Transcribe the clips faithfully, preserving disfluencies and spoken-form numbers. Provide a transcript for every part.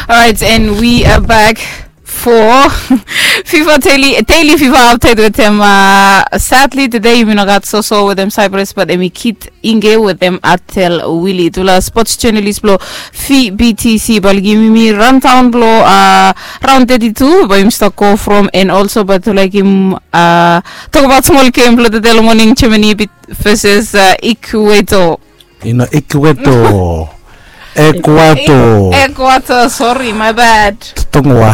Alright, and we are back for FIFA Daily, Daily FIFA Update wetem uh, Sadly today yumi no gat Soso wetem Cyprus, but emi Kit Inge wetem Atel Willie. Tufala sports journalist blo V B T C bali givim yumi rundown blo uh, round thirty-two, but yumi start go from and also but tufala givim uh, talk about small game blo today morning, Germany versus uh, Ecuador. Ino Ecuador. Ecuador. Ecuador, sorry, my bad. Tongoa.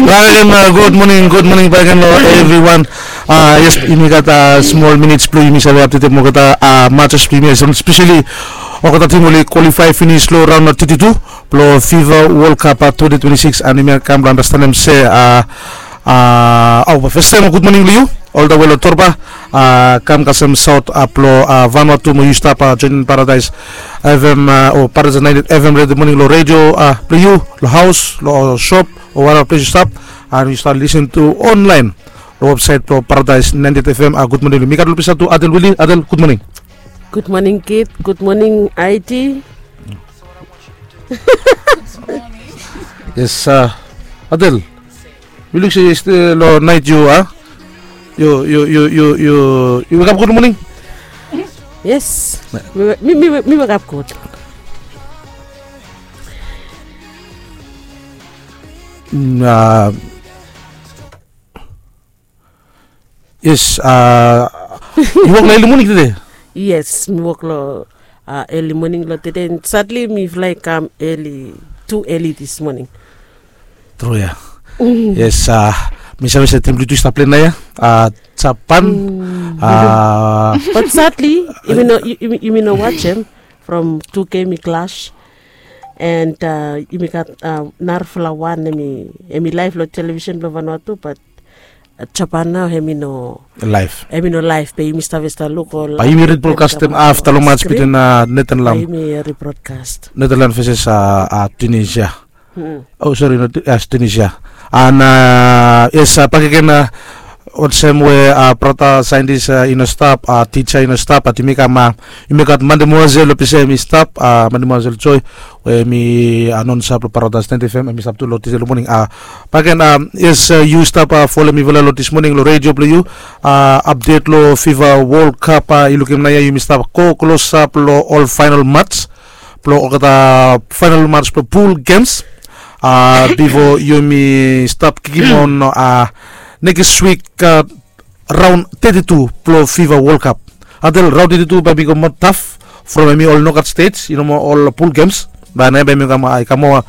Welcome, uh, good morning, good morning back again, uh, everyone. Uh, yes, yumi gat uh, small minutes blo yumi save update mo gat uh, matches blo yumi, especially olgeta team oli qualify finish lo round thirty-two blo FIFA World Cup uh, twenty twenty-six, and yumi kam blo understand se uh, uh, oh, first time, good morning lo yu all the way lo Torba. Uh, kam kasem South uh, blo uh, Vanuatu mo yu stap uh, joining Paradise F M uh, o Paradise ninety-eight F M radio morning lo radio uh, blo yu, lo house, lo shop, o whatever place yu stap, and yu stap listen to online lo website blo Paradise ninety-eight F M. Uh, good morning. Mi gat lo pisa tu Adel Willie. Adel, good morning. Good morning, Kit. Good morning, I T. Yes, uh, Adel. Mi luk se yesterday lo night yu a yu yu yu yu yu yu wake up good morning. Yes. Mi mi mi mi wake up good. Mm, uh, yes, uh, yu wok lo early morning today? Yes, mi wok lo uh, early morning lo today. And sadly mifala i kam early, too early this morning. Tru ya. Yes, uh, mi save se tim blo yu tu i stap plei naoia, uh, Japan. Uh, but sadly yumi no yumi no watch him from two game i clash. And uh, yumi gat uh, narafala wan emi emi live lo television blo Vanuatu, but uh, Japan nao hemi no live. Hemi no live, be yumi stap stap luk ol. Ba yumi rebroadcast em afta lo match between uh, Netherlands. Yumi rebroadcast Netherlands versus uh, uh, Tunisia. Oh, sorry, not uh, Tunisia. And uh, yes, uh, bakegen uh, olsem we uh, brata scientist uh, i no stap, uh, teacher i no stap, but yumi kam uh, yumi gat Mande Moazel lo pisa emi stap, uh, Mande Moazel Joy, we mi uh, non stap lo Paradise ninety-eight F M, emi stap tu lo today lo morning. Uh, bakegen, um, yes, uh, yu stap uh, folem mifala lo this morning lo radio blo yu. Uh, update lo FIFA World Cup, uh, i lukim naoia yumi stap go klosap lo ol final match blo olgeta final match blo pool games. Uh, bifo yumi stap kikim on uh, next week uh, round thirty-two blo FIFA World Cup. Until round thirty-two bae i go moa taf from emi ol knockout stage, i no moa ol pool games. Bae naoia bae i kam uh, i kam moa,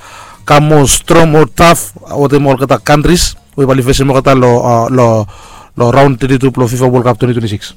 kam moa strong, moa taf wetem olgeta countries we bae oli fesem olgeta lo uh, lo lo round thirty-two blo FIFA World Cup twenty twenty-six.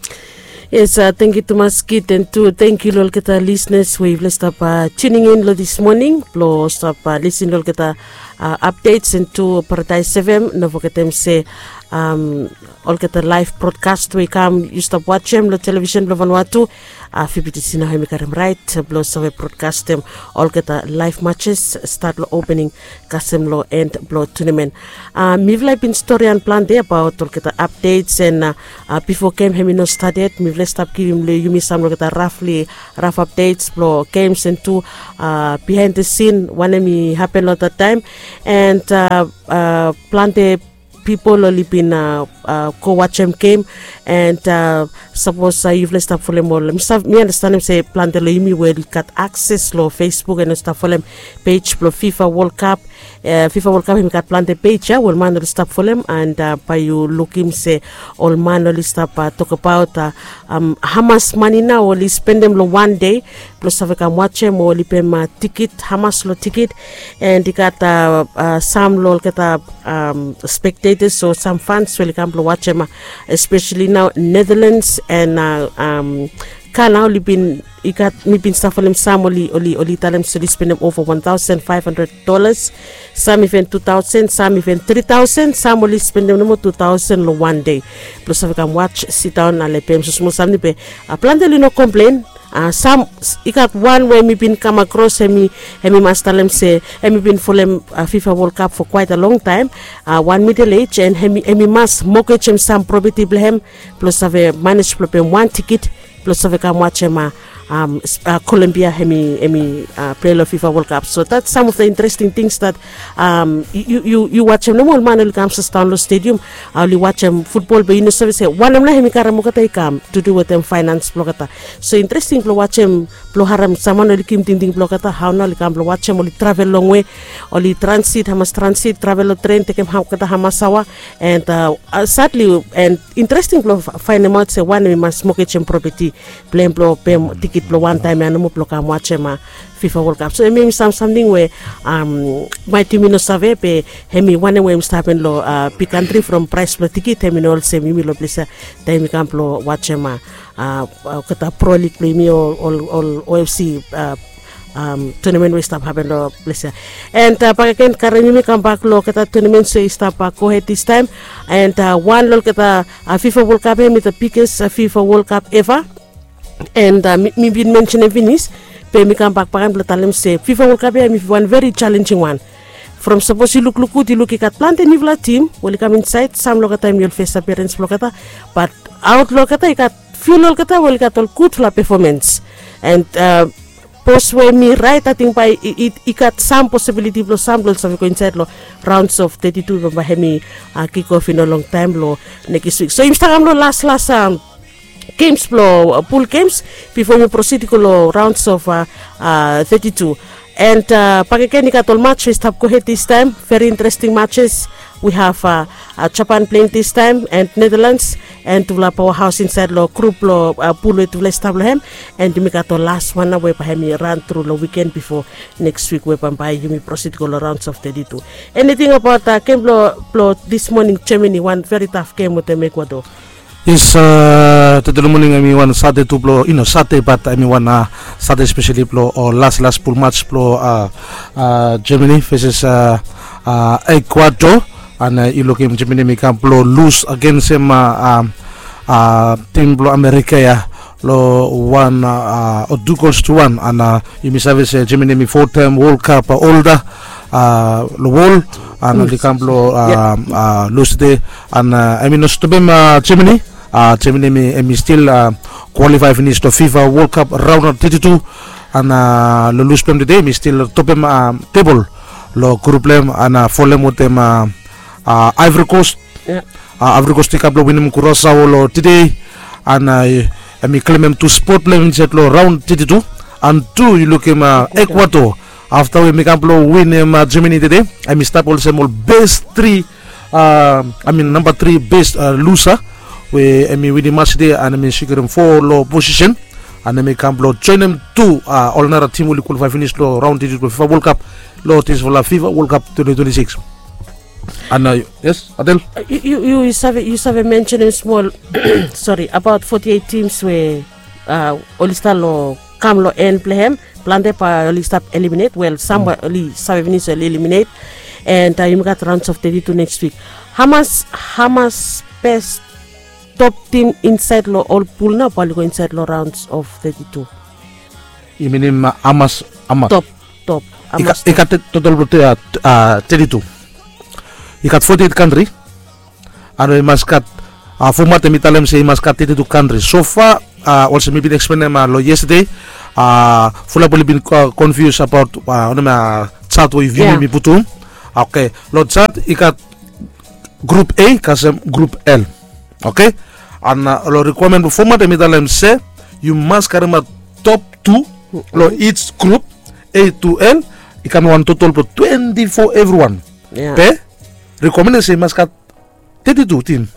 Yes, uh, thank you tumas Kit, and tu thank you lo olgeta listeners we yufala i stap uh, tuning in lo this morning blo stap uh, listen lo olgeta uh, updates, and tu Paradise F M. No fogetem se um, olgeta live broadcast we i kam yu stap watch em lo television blo Vanuatu, uh, V B T C nao hemi karem right blo save broadcast em olgeta live matches start lo opening kasem lo end blo tournament. Uh, mifala i bin storian plante abaot olgeta updates, and uh, uh, bifo game hemi no stap yet mifala i stap givim lo yumi sam lo olgeta roughly rough updates blo games, and tu uh, behind the scene wanem i hapen lo that time. And uh, uh, plante pipol oli bin uh, uh, go wajem game. And uh, sapos uh, yufala i stap folem ol, mi stap mi andastanem se plante lo yumi we oli gat akses lo Facebook and oli stap folem page blo FIFA World Cup. Uh, FIFA World Cup hemi gat plante page ya we ol man oli stap folem, and uh, bae yu lukim se ol man oli stap uh, tokbaot uh, um, hamas mane nao oli spendem lo wan dei blo save kam wajem o oli pem uh, tikit, hamas lo tikit. And i gat uh, uh, sam lo olgeta um, spectators o sam fans we oli kam blo wajem uh, especially nao Netherlands and uh, um, Ghana oli bin, i gat, mi bin stap folem sam oli oli oli talem se oli spendem ova one thousand five hundred dollars, sam iven two thousand, sam iven three thousand, sam oli spendem nomo two thousand lo wan dei blo save kam watch, sidaon, ale pem so smol sam ni be uh, plante oli no komplen. Uh, sam i gat wan we mi bin kam akros, hemi hemi mas talem se hemi bin folem uh, FIFA World Cup for quite a long time, uh, wan middle age, and hemi hemi mas mogejem sam propeti blo hem blo save manej blo pem wan tikit blo save kam wajem uh, um, Colombia hemi hemi uh, play lo FIFA World Cup. So that's some of the interesting things that um, you, you, you watch him nomo, ol man oli kam sas down lo stadium, uh, oli watch him football, be you know service one him na hemi karam olgeta i kam to do with them finance blo olgeta. So interesting blo watch him, blo haram saman oli kim tingting blo olgeta, how na oli kam blo watch him, oli travel long way, oli transit, hamas transit, travel lo train, tekem olgeta hamas awa, and uh, uh, sadly and interesting blo finding out se one hemi mas mortgage him property blem blo pem tikit blo wan taem ya nomo blo kam wajem a fifa World Cup. So hemi hemi sam samting we um, maet yumi no save be hemi wanem we hemi stap hapen lo uh, big country from price blo tikit hemi no olsem yumi lo ples ya taem yumi kam blo wajem a uh, uh, kata pro league blo yumi ol ol ol ofc uh, um, tournament we i stap hapen lo ples ya. And uh, bakegen karem yumi kambak lo olgeta tournament so i stap uh, gohed this time. And uh, wan lo olgeta uh, fifa World Cup ya hemi the biggest uh, fifa World Cup ever. And uh, mi, mi bin mention em finis, be mi kambak bakegen blo talem se fifa World Cup ya hemi wan very challenging wan. From sapos yu lukluk gud yu luk i gat plante niufala tim we oli kam insaed, sam lo olgeta hemi oli fes appearance blo olgeta, but aot lo olgeta i gat fiu lo olgeta we oli gat ol gudfala performance. And uh, pos we mi raet ating bae i gat sam possibility blo sam blo oli save go insaed lo rounds of thirty-two, bambae hemi uh, kick off i no longtaem lo nekis wik. So yumi stap kam lo laslas um, games blo uh, pool games bifo yumi proceed i go lo rounds of uh, uh, thirty-two. And uh, bakegen i gat ol match we i stap gohed this time, very interesting matches. We have uh, uh, Japan playing this time and Netherlands, and tufala powerhouse insaed lo group lo uh, pool we tufala i stap lo hem. And yumi gat ol last wan na we bae hemi run through lo weekend bifo next week we bambae yumi proceed go lo rounds of thirty-two. Anything about uh, game blo, blo this morning, Germany wan very tough game wetem Ecuador. Yes, uh, tede lo moning hemi wan Sade tu blo, you know, Sade, but hemi wan uh, Sade especially blo uh, last last pool match blo uh, uh, Germany versus uh, uh, Ecuador. And uh, yu lukim Germany hemi kam blo lose against him uh, um, uh, tim blo America ya lo wan uh, uh, or two goals to one. And uh, yumi save se Germany hemi four time World Cup uh, holder uh, lo wol. And oli kam blo uh, uh, lose de. And uh, hemi no stopem uh, Germany. Uh, Germany hemi, hemi still uh, qualify finis lo fifa World Cup round of thirty-two. And uh, lo lose blem tede hemi still topem uh, table lo group blem and uh, folem wetem uh, uh, Ivory Coast. Yeah. Uh, Ivory Coast i kam blo winim Curaçao lo tede. And uh, hemi klemem tu spot blem insaed lo round thirty-two. And tu yu lukim uh, Ecuador, afta we hemi kam blo winim uh, Germany tede, hemi stap olsem ol best three uh, I mean number three best uh, loser we hemi winim match tede and hemi sikurim four lo position. And hemi kam blo joenem tu uh, ol nara tim we oli qualify finis lo round thirty-two fifa World Cup lo this fifa World Cup twenty twenty-six. And uh, yes, Adel? Uh, yu, yu, yu, save, yu save mention him smol sorry, about forty-eight teams we uh, oli stap lo kam lo en blo hem. Plante bae oli stap eliminate, well, sam bae oli save finis oli eliminate. And uh, yumi gat rounds of thirty-two next week. Hamas, hamas best top team insaed lo ol pool nao bae oli go insaed lo rounds of thirty-two? Yu minim uh, hamas, hamas top, top. I gat total blo uh, uh, thirty-two. I gat forty-eight country. And we mas gat uh, format hemi talem se i mas gat thirty-two country so far. Uh, olsem mi bin explain uh, lo yesterday, uh, fulap oli bin uh, confuse about uh, onem uh, chart we yumi mi putum. Okay, lo chart i gat group A kasem group L. Okay. And uh, lo requirement blo format hemi talem se yu mas karemaot top two lo each group, A to L. I kam wan total blo twenty-four evriwan. Yeah. Be requirement se i mas gat thirty-two team.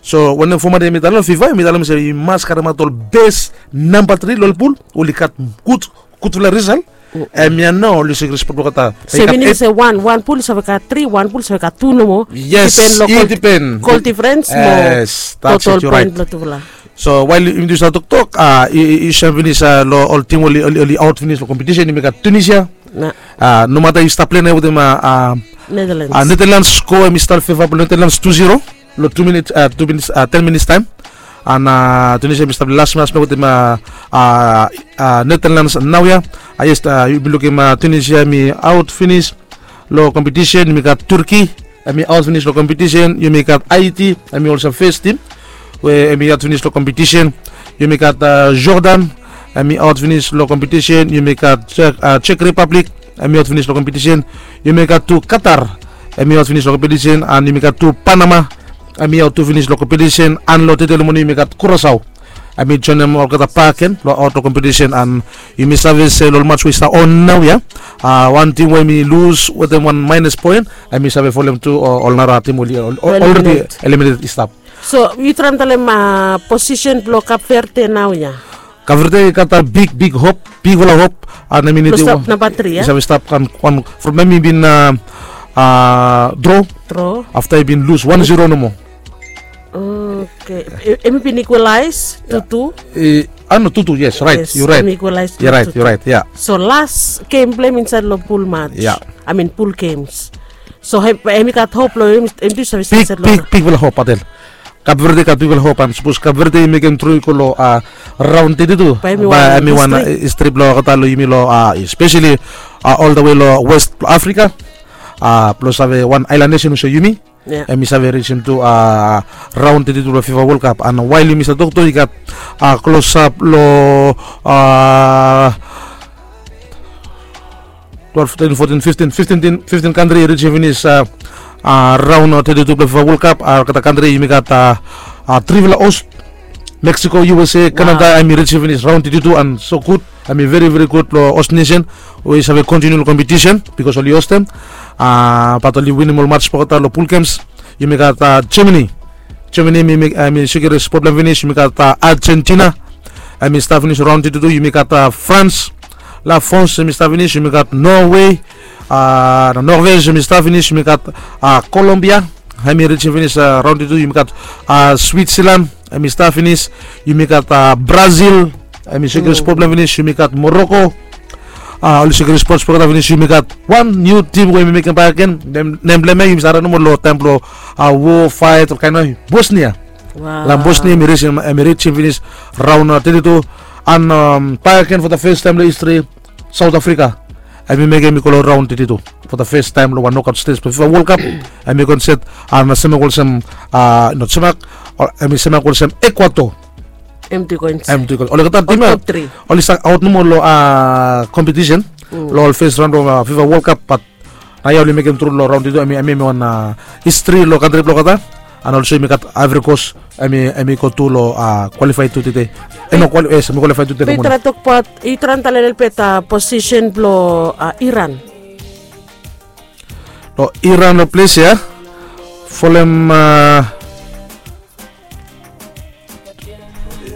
So wanem format hemi talem, fifa hemi talem se i mas karemaot ol best number three lo ol pool oli gat gud, gudfala result. Hemia nao oli sikurim spot blo olgeta. So i minim se wan, wan pool i save gat three, wan pool i save gat two nomo. Yes, i dipen. Goal difference mo total point blo tufala. So wael yumi tu stap toktok, uh, i, i, i sem finis uh, lo ol tim oli, oli, oli aot finis lo competition, yumi gat Tunisia. Uh, nomata i stap plei nao wetem uh, uh, Netherlands. Uh, Netherlands score hemi stap feva blo Netherlands two zero lo two minutes, uh, two minutes, uh, ten minutes taem. And uh, Tunisia hemi stap las match nao wetem uh, uh, uh, Netherlands naoia. Uh, yes, uh, yumi lukim uh, Tunisia hemi aot finis lo competition. Yumi gat Turkey, hemi aot finis lo competition. Yumi gat Haiti, hemi olsem first team we hemi aot finis lo competition. Yumi gat uh, Jordan, Hemi aot finis long kompetisen. Yumi gat Czech Republic, hemi aot finis long kompetisen. Yumi gat tu Qatar, hemi aot finis long kompetisen. An yumi gat tu Panama, hemi aot tu finis long kompetisen. An long tede long moning yumi gat Curaçao, hemi joenem olgeta bak gen long aot long kompetisen. An yumi save se long ol mats we i stap on naoia, wan tim we hemi lus wetem wan maenus poen, hemi save folem tu ol nara tim we oli olredi eliminated i stap. So yu traem talem posisen blong Kap Verde naoia? Kap Verde i gat big big hop, bigfala hop. An hemi nidim wan namba tri ya, i save stap wan from hemi bin draw, draw afta i bin lus wan zero nomo. Oke. Hemi bin ikwalaes tu tu. A no, tu tu, yes, raet, yu raet. Yu raet, yu raet ya. So las gem blong hem insaed long pul mats, I mean pul gems. So hemi gat hop long hem tu, i save stap insaed long big bigfala hop, Patel. Kap Verde i gat bigfala hop, an sapos Kap Verde i mekem tru i go long raon teti tu, bae hemi wan histri blong olgeta long yumi long, espeseli oltawe long west blong Afrika, blong save wan aelan nesen olsem yumi, hemi save risim tu raon teti tu blong FIFA World Cup. An wael yumi stap toktok, i gat klosap long twelve, thirteen, fourteen, fifteen, fifteen kantri i risim finis raon teti tu blong FIFA World Cup. Olgeta kantri yumi gat trifala host, Mexico, U S A, Canada, hemi risim finis raon teti tu, an so gud, hemi veri veri gud long host nesen we i save kontiniu long kompetisen, bikos oli hostem, bat oli winim ol mats blong olgeta long pul gems. Yumi gat Germany. Germany hemi, hemi sikrim spot blong hem finis. Yumi gat Argentina, hemi stap finis raon teti tu. Yumi gat France, La France, hemi stap finis. Yumi gat Norway, Norvej, hemi stap finis. Yumi gat Colombia, hemi risim finis raon teti tu. Yumi gat Switzerland, hemi stap finis. Yumi gat Brazil, hemi sikrim spot blong hem finis. Yumi gat Morocco, oli sikrim spot blong olgeta finis. Yumi gat wan niu tim we hemi mekem bak gen, nem blong hem ya yumi save harem nomo long taem blong wo, faet, ol kaen nao, Bosnia. La Bosnia hemi risim, hemi risim finis raon teti tu. An bak gen fo da fes taem long histri, South Africa, hemi mekem i go long raon teti tu fo da fes taem long wan nokaot stej blong FIFA World Cup. Hemi go insaed, an semak olsem, not semak, hemi semak olsem Ecuador. Hemi go insaed. Olgeta tim ya oli stap aot nomo long kompetisen long ol fes raon blong FIFA World Cup, bat naoia oli mekem tru long raon teti tu, hemi, hemi wan histri long kantri blong olgeta. An olso yumi gat Ivory Coast, hemi, hemi go tu long kwalifae tu tede. Hemi kwalifae tu tede. Yu traem tokbaot, yu traem talem lelebet posisen blong Iran. Long Iran long ples ya, folem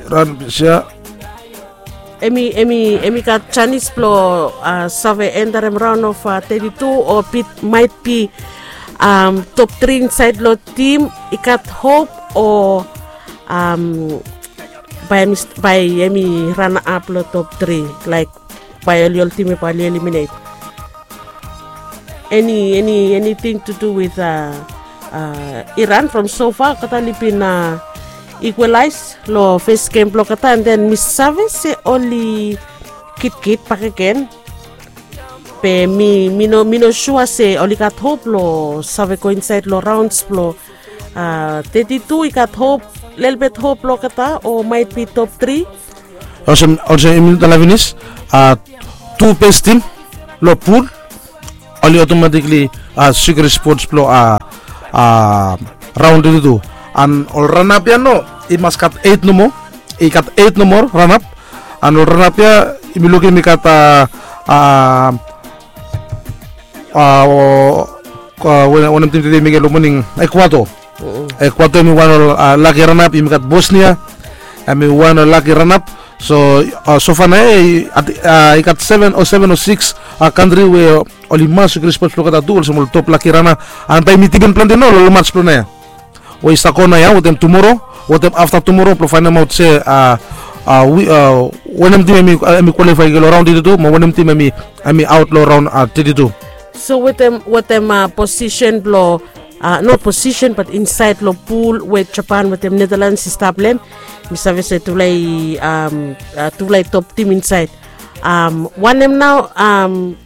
Iran ples ya. Hemi, hemi, hemi gat janis blong save enterem raon of teti tu o bit, maet bi top tri insaed long tim i gat hop o bae hemi, bae hemi ranap long top tri, laek bae oli ol tim ya bae oli eliminet. Eni, eni, eniting tu du wit Iran from so fa olgeta oli bin ikwalaes long fes gem blong olgeta, an den mi save se oli kitkit bakegen. Be mi, mi no, mi no sua se oli gat hop blong save go insaed long raons blong teti tu, i gat hop, lelebet hop blong olgeta o maet bi top tri. Olsem, olsem yumi talem finis, tu bes tim long pul oli otomatikli sikrim spot blong raon teti tu. An ol ranap ya nao i mas gat eit nomo, i gat eit nomo ranap. An ol ranap ya yumi lukim i gat wanem tim tede i mekem long moning, Ecuador. Ecuador hemi wan ol laki ranap. Yumi gat Bosnia, hemi wan ol laki ranap. So so fa nao ya i gat seven o, seven o six kantri we oli mas sikrim spot blong olgeta tu olsem ol top laki ranap. An bae yumi dipen plante nao long ol mats blong naoia we i stap go naoia wetem tumoro, wetem afta tumoro blong faenemaot se wanem tim hemi kwalifae i go long raon teti tu mo wanem tim hemi aot long raon teti tu. So wetem, wetem posisen blong, not posisen bat insaed long pul we Japan wetem Netherlands i stap long hem, mi save se tufala i, tufala i top tim insaed. Wanem nao,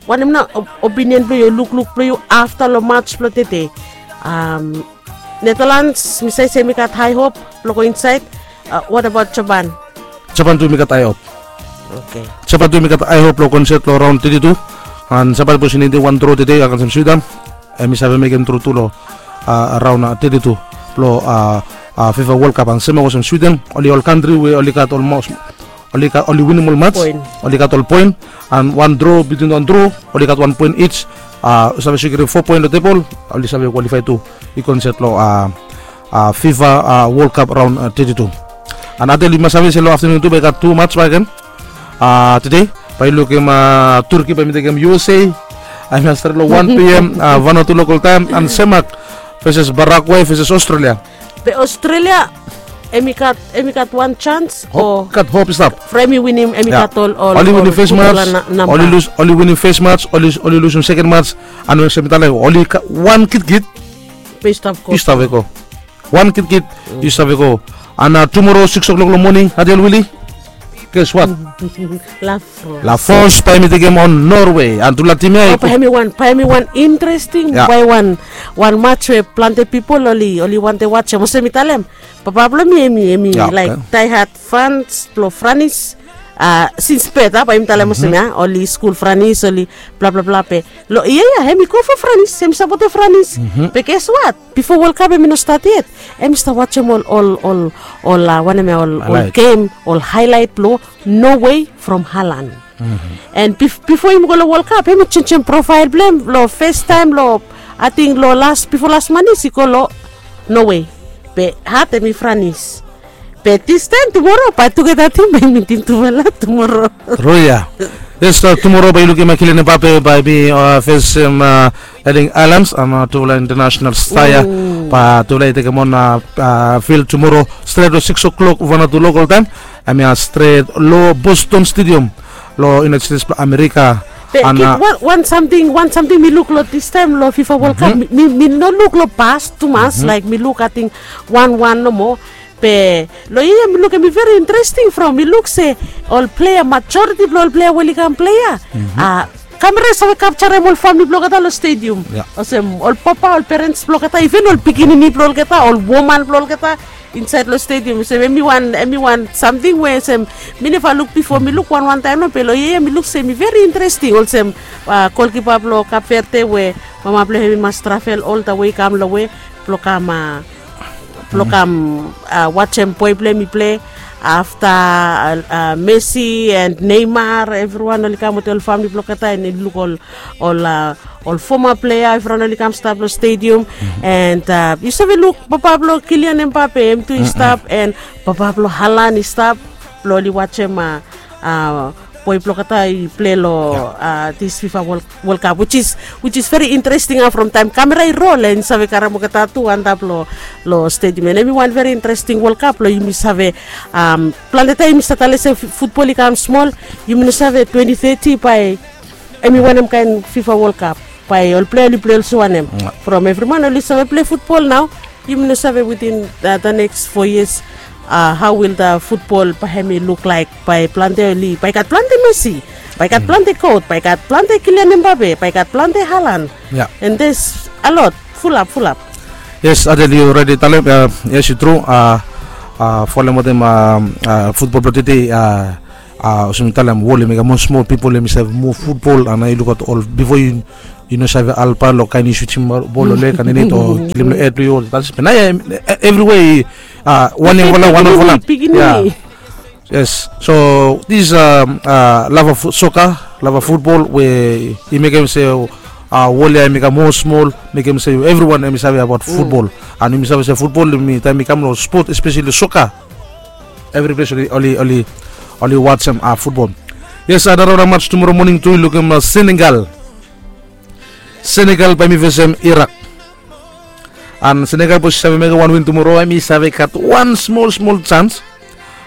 wanem nao opinion blong yu, lukluk blong yu afta long mats blong tede? Netherlands mi save se hemi gat hae hop blong go insaed. What about Japan? Japan tu hemi gat hae hop. Sepa tu mi gat aihop long konset long raun teti tu. An sepa bos i nidim wan dro tede agansem swidam, em i save mekem tru tu long raun teti tu blong fifa wol kap. An sem olsem swiden oli ol kantri we oli gat olmos oli winim ol mats, oli gat ol poen. An wan dro bitwin wan dro oli gat wan poen ij. Save sekirim fo poen long tebol, oli save kwalifai tu i konset long fifa wol kap raun teti tu. An atel yu mas save se long aftanun tu bai gat tu mats bakegen. Tede bai yu lukim turki bai mi tekem usa. Ai mas stret long wan pm, vanatu lokal taem, an semak veses baragwai veses australia. Be australia em i gat em i gat wan sans o gat hop i stap. From em i winim em i gat ol ol oli winim fes mats, oli lus oli winim fes mats, oli lusim seken mats. An olsem mi talem oli wan kitkit be i stap go. Wan kitkit i save go. Ana tumoro sikis o'klok long moning, adel wili. Ges wat? Lafos. Lafos bai mi tekem on norway an tufala tim ya i go. Bai em i wan bai em i wan interesting bai wan wan mats we plante pipol oli oli wante watsem olsem mi talem. Papa blong mi em i em i laik daihat frans blong franis. Sins bet a bai mi talem olsem ya oli skul franis oli blablabla be long yia ya em i go fo franis em i sapotem franis. Be ges wat? Bifo wol kap em i no stat yet. Em i stap watsem ol ol ol ol wanem ya ol ol gem ol hailait blong nowe from halan. An bifo yumi go long wol kap em i jenjem profael blong em long festaem long ating long las bifo las manis i go long nowe. Be hat em i franis. Be distaem tumoro bai tugeta tim bai mitim tufala tumoro. Roya. Yes, tumoro bai yu lukim akilene bape bai mi fesem eling ailans an tufala international staya. Bai tufala i tekem on fil tumoro stret long sikis o'klok vanatu lokal taem. Em ya stret long boston stadium long united states blong amerika. Be ana wan samting wan samting mi luk long distaem long fifa wol kap mi no luk long pas tumas laik mi luk ating wan wan nomo. Be long yia mi luk em i veri interesting from mi luk se ol plea majoriti blong ol plea we oli kam plea. Kamera i save kapjarem ol famili blong olgeta long stedium. Olsem ol papa ol perens blong olgeta iven ol pikinini blong olgeta ol woman blong olgeta insaed long stedium olsem em i wan em i wan samting we olsem mi neva luk bifo mi luk wan wantaem no be long yia mi luk se em i veri interesting olsem golkipa blong kapverde we mama blong em i mas travel oltawe i kam long we blong kam blong kam watsem boe blong em i ple. Afta messi and neimar evriwan oli kam wetem ol famili blong olgeta and i luk ol ol ol foma plea evriwan oli kam stap long stedium. And yu save luk papa blong kilian em bape em tu i stap and papa blong halan i stap blong oli watsem boe blong olgeta i ple long dis fifa wol kap wich is wich is veri interesting a from taem kamera i rol and save karem olgeta tu antap long stedium and em i wan veri interesting wol kap long yumi save plante taem yumi save talem se futbol i kam smol. Yumi no save twenti teti bae em i wanem kaen fifa wol kap bae ol plea oli ple olsem wanem. From evri man oli save ple futbol nao. Yumi no save witin da neks fo yias hao wil da futbol bae hem i luk laek bae plante oli bae i gat plante mesi bae i gat plante kot bae i gat plante kilian embabe bae i gat plante halan. And des a lot fulap fulap. Yes, adel yu redi talem. Yes, yu tru. Folem wetem futbol blong tede. Olsem mi talem wol em i gat moa smol pipol em i save moa futbol ana yu lukaot ol bifo yu yu no save alpa long kain yu sutim bol long lek ananet o kilim long hed blong yu ol tas be nao ya evriwe i wan yangfala wan olfala. Yes, so this lava soka lava futbol we i mekem se wol ya em i kam moa smol mekem se evriwan em i save abaot futbol. An yumi save se futbol yumi taem i kam long spot espeseli soka. Evri ples oli oli oli watsem futbol. Yes, anaraon a mats tumoro moning tu i lukim senegal. Senegal bae mi fesem irak. An senegal bos i save mekem wan win tumoro em i save gat wan smol smol sans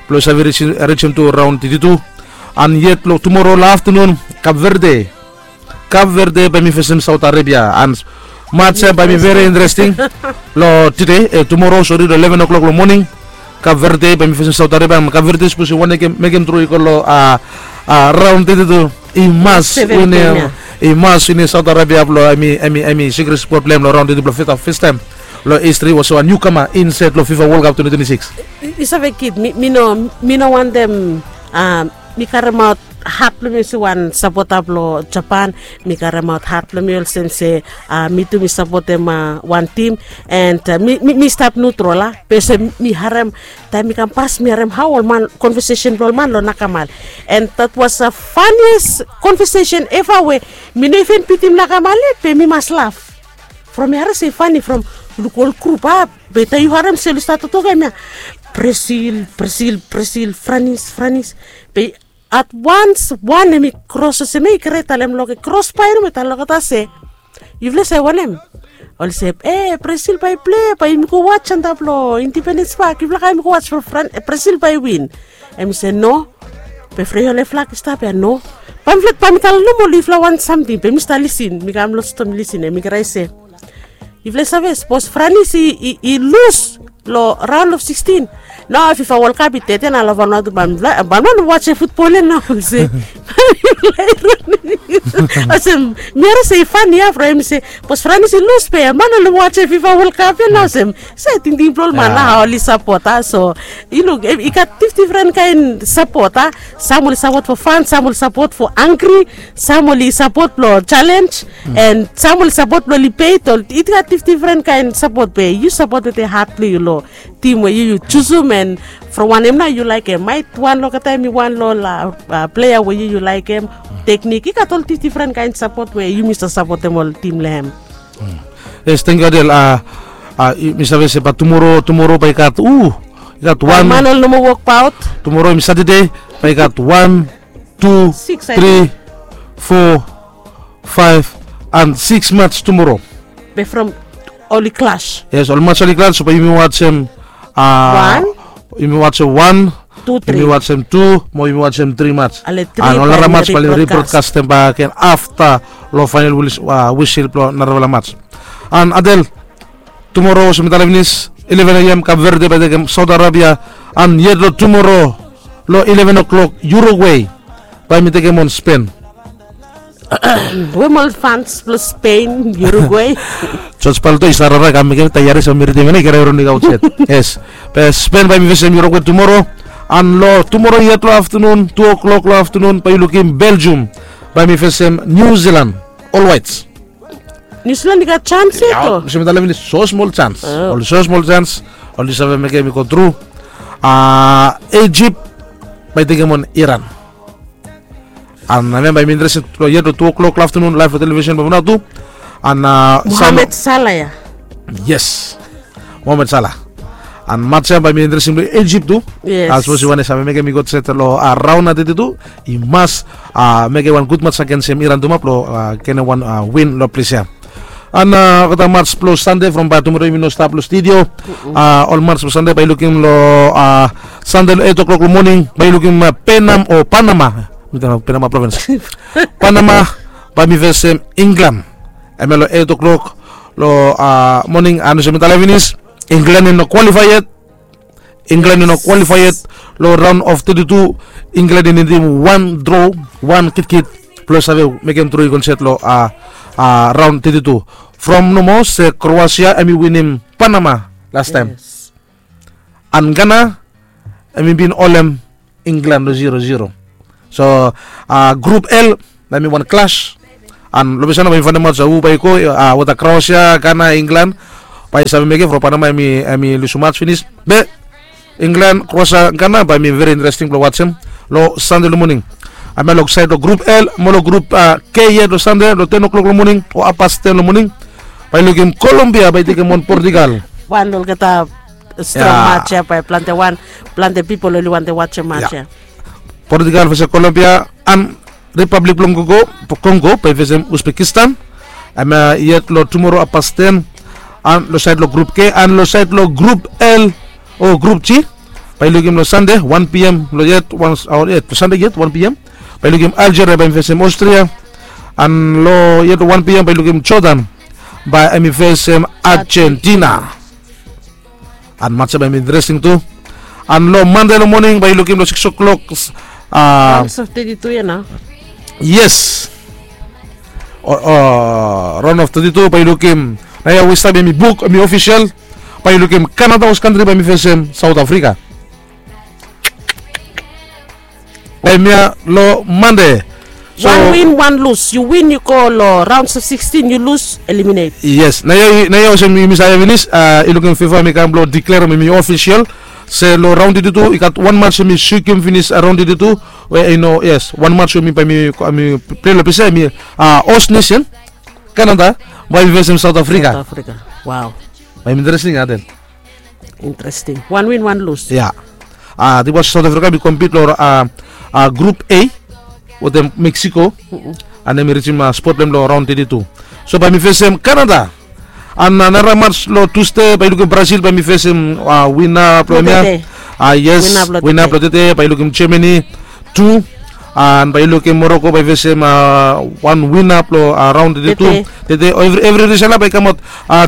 blong i save risim tu raon teti tu. An yet long tumoro long aftanun kap verde kap verde bae mi fesem saut arabia an mats ya bae mi veri interesting. Long tede tumoro sori long eleven o'klok long moning. Kap verde bae mi fesem saut arabia an kap verde sapos i wantem mekem tru i go long raon teti tu i mas winim i mas winim saut arabia blong em i em i em i sikris bot blong em long raon teti blong feta festaem long histri was wan niukama insaed long fifa wol kap twenti twenti sikis. I save kid mi no mi no wantem Mi karemaot hat blong mi olsem wan sapota blong Japan. Mi karemaot hat blong mi olsem se mi tu mi sapotem wan tim. And mi stap nutrol a be olsem mi harem taem mi kam pas mi harem hao ol man konvesesen blong ol man long nakamal. And that was a funniest konvesesen eva we mi no even bitim nakamal yet be mi mas laf from mi harem se i fani from luk ol grup a. Be taem yu harem se oli stat toktok em ya, Brazil, Brazil, Brazil, Franis, Franis. Be at wans wan em i kros olsem ya i kret talem long kros bae nomo talem olgeta se, yufala save wanem? Olsem e Brazil bae i plei bae yumi go wats antap long Independens Pak, yufala kam yumi go wats from Brazil bae i win. Em i se no. Be frei ol eflak i stap ya no. Bae mi talem nomo long yufala wan samting be mi stap lisin mi kam long stom lisin em i krai se, yufala i save sapos Franis i lus long raon of sikstin, nao fifa wol kap i tete na long Vanuatu bae mifala bae mifala no watsem futbol ya nao. Olsem, olsem mi harim se i fani ya from em i se sapos Franis i lus be mifala no watsem fifa wol kap ya nao. Olsem se tingting blong ol man nao hao oli sapot a. So yu luk i gat difdifren kaen sapot a. Sam oli sapot fo fan, sam oli sapot fo angri, sam oli sapot blong jalenj, and sam oli sapot blong libet. Ol i gat difdifren kaen sapot be yu sapot wetem hat blong yu long tim we yu yu jusum. And from wanem nao yu laekem? Maet wan long olgeta em i wan long ol plea we yu yu laekem. Teknik i gat ol difdifren kaen sapot we yumi save sapotem ol tim long hem. Yes, tangkiu Adel. Mi save se bae tumoro tumoro bae i gat u i gat wan man oli no moa wokbaot. Tumoro em i Satade, bae i gat wan, tu, tri, fo, faef, and siks mats tumoro. Be from oli klas. Yes, ol mats oli klas so bae yumi watsem a, yumi watsem wan, yumi watsem tu, mo yumi watsem tri mats. And ol nara mats bae oli ribrodkastem bak gen afta long faenal wisil blong narafala mats. And Adel, tumoro olsem mi talem finis, ileven a.m. Kap Verde bae i tekem Saut Arabia. And yet long tumoro long ileven o'klok Uruguay bae mi tekem on Spen. Wem ol fans blong Spen, Uruguay? Jos Balto i stap rara i kam mekem taeares o mi ridim ya nao i kere ron i kaot yet. Yes. Be Spen bae mi fesem Uruguay tumoro. And long tumoro yet long aftenun, tu o'klok long aftenun bae yu lukim Belgium bae mi fesem Niu Silan. Ol waets. Niu Silan i gat jans yet o? Olsem mi talem finis, so smol jans. Oli so smol jans. Oli save mekem i go tru. A, Ijip bae i tekem on Iran. And hemia bae mi interesting long yet long tu o'klok long aftenun laef long televisen blong Vanuatu. And a, Mohamed Salah ya. Yes. Mohamed Salah. And mats ya bae mi interesting blong Ijip tu. Yes. Sapos yu wantem save mekem i go set long a raon a teti tu, i mas a mekem wan gud mats agensem Iran tu ma blong a genem wan a win long ples ya. And a olgeta mats blong Sande from bae tumoro yumi no stap long studio. A ol mats blong Sande bae yu lukim long a Sande long eit o'klok long moning bae yu lukim Penam o Panama. Mi talem Penama provins. Panama bae mi fesem Inglan. Hemia long eit o'klok long a moning. And olsem mi talem finis, Inglan i no kwalifae yet. Inglan i no kwalifae yet long raon of teti tu. Inglan i nidim wan dro, wan kitkit blong save mekem tru i go insaed long a raon teti tu. From nomo se Kroasia hemi winim Panama lastaem. And Gana hemi bin holem Inglan long zero zero. So a grup L bae hemi wan klas. And long ples ya nao bae yumi faenem aot hu bae i go a wetem Kroasia, Gana, Inglan. Bae i save mekem from Panama hemi lusum mats finis. Be Inglan, Kroasia, Gana bae hemi veri interesting blong watsem long Sande long moning. Hemia long saed long grup L mo long grup a K yet long Sande long ten o'klok long moning o hafpas ten long moning. Bae yu lukim Kolombia bae i tekem on Portugal. Wan long olgeta strong mats ya bae plante wan, plante pipol oli wantem watsem mats ya. Portugal fesem Kolombia. And Ripablik blong Kongo bae i fesem Uzbekistan. Hemia yet long tumoro hafpas ten. And long saed long grup K and long saed long grup L o grup G bae yu lukim long Sande wan P M long yet wan, o yet long Sande yet wan P M bae yu lukim Aljeria bae hemi fesem Aostria. And long yet long wan P M bae yu lukim Jordan bae hemi fesem Ajentina. And mats ya bae hemi interesting tu. And long Mande long moning bae yu lukim long sikis o'klok. Yes. Raon of teti tu bae yu lukim. Nao ya we i stap hemi buk, hemi ofisel. Bae yu lukim Kanada hos kantri bae hemi fesem Saot Afrika. Hemia long Mande. So, wan win, wan lus. Yu win, yu go long raons of sixteen, yu lus, eliminate. Yes, naoia olsem yumi save finis, i lukim fifa hemi kam blong diklerem hemi ofisel se long raon teti tu i gat wan mats hemi sukim finis raon teti tu. We i no, yes, wan mats hemi bae hemi plei long pisa hemi host nation, Canada, bae hemi fesem South Africa. Bae hemi interesting, Adel. Interesting. Wan win, wan lus. Ya. Tibwa South Africa hemi kompit long Group A wetem Mexico, an hemi rijim spot blong hem long raon teti tu. So bae hemi fesem Canada. An nara mats long Tusde bae yu lukim Brazil bae hemi fesem wina blong hemia. Yes, wina blong tede bae yu lukim Germany tu. An bae yu lukim Morocco bae i fesem wan wina blong raon teti tu. Tede evri rizal ya bae i kamaot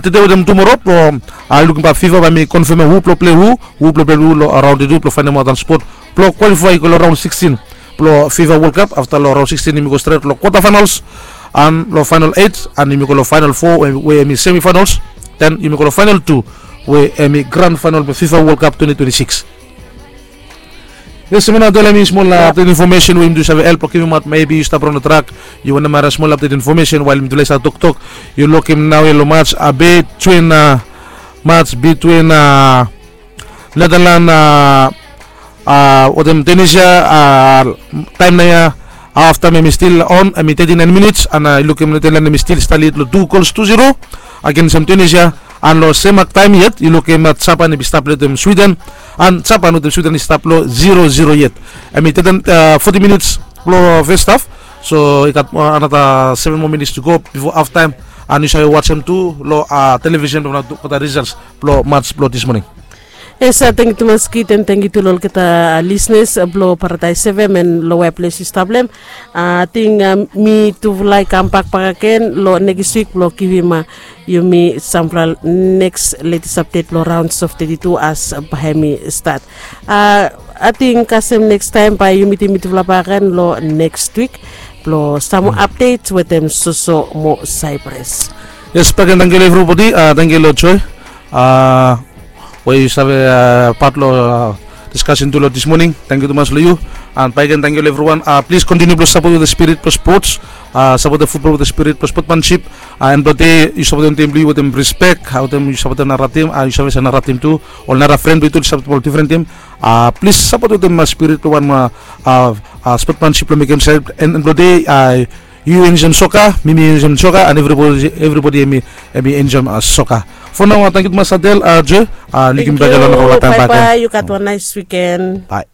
tede wetem tumora blong yu lukim bae fifa bae hemi konfemem hu blong plei hu, hu blong plei hu long raon teti tu blong faenemaot wan spot blong kwalifae i go long raon sixteen blong fifa World Cup. Afta long raon sixteen yumi go stret long kwata faenals, an long faenal eit, an yumi go long faenal fo we hemi semi faenals. Den yumi go long faenal tu we hemi gran faenal blong fifa World Cup twenty twenty-six. Yes, mi nao talem yu smol update infomesen we yumi tu save help blong givimaot. Mebi yu stap raon long trak, yu wantem harim smol update infomesen wael mitufala i stap toktok. Yu lukim naoia long mats betwin, mats betwin Netherlands wetem Tunisia. Taem naoia, haftaem hemi stil on, hemi thirty-nine minits, an yu lukim Netherlands hemi stil stap lid long tu gols tu zero agensem Tunisia. An long sem haftaem yet yu lukim Japan hemi stap lid wetem Sweden, an Japan wetem Sweden i stap long zero zero yet. Hemi thirty, forty minits blong fes haf. So i gat anata seven moa minits tu go bifo haftaem. An yu save wajem tu long televisen blong nao tu kwata rizals blong mats blong dis moning. Yes, tangkiu tumas Kit, an tangkiu tu long olgeta lisenas blong Paradaes F M an long wea ples yu stap long hem. Ating mitufala i kambak bakagen long nekis wik blong givim yumi samfala neks letes apdet long raons of teti tu as bae hemi stat. Ating kasem nekstaem bae yu mitim mitufala bakagen long neks wik blong sam moa apdet wetem soso mo Saipras. Yes, bakagen tangkiu long evribodi. Tangkiu long Joe we yu save pat long diskasen tu long dis moning. Tangkiu tumas long yu. An bakagen tangkiu long evriwan. Plis kontiniu blong sapot wetem spirit blong spots. Sapot wetem futbol wetem spirit blong spotmansip. An blong dei yu sapotem tim blong yu wetem rispek, wetem yu sapotem nara tim, yu save se nara tim tu, ol nara fren blong yu tu ol i sapotem ol difren tim. Plis sapot wetem spirit blong wan spotmansip blong mekem sel. An blong dei yu enjoem soka, mi mi enjoem soka, an evribodi hemi enjoem soka. Fo nao, tangkiu tumas Adel, Joe. Lukim bak long nara taem bak. Bae yu gat wan naes wiken. Bae.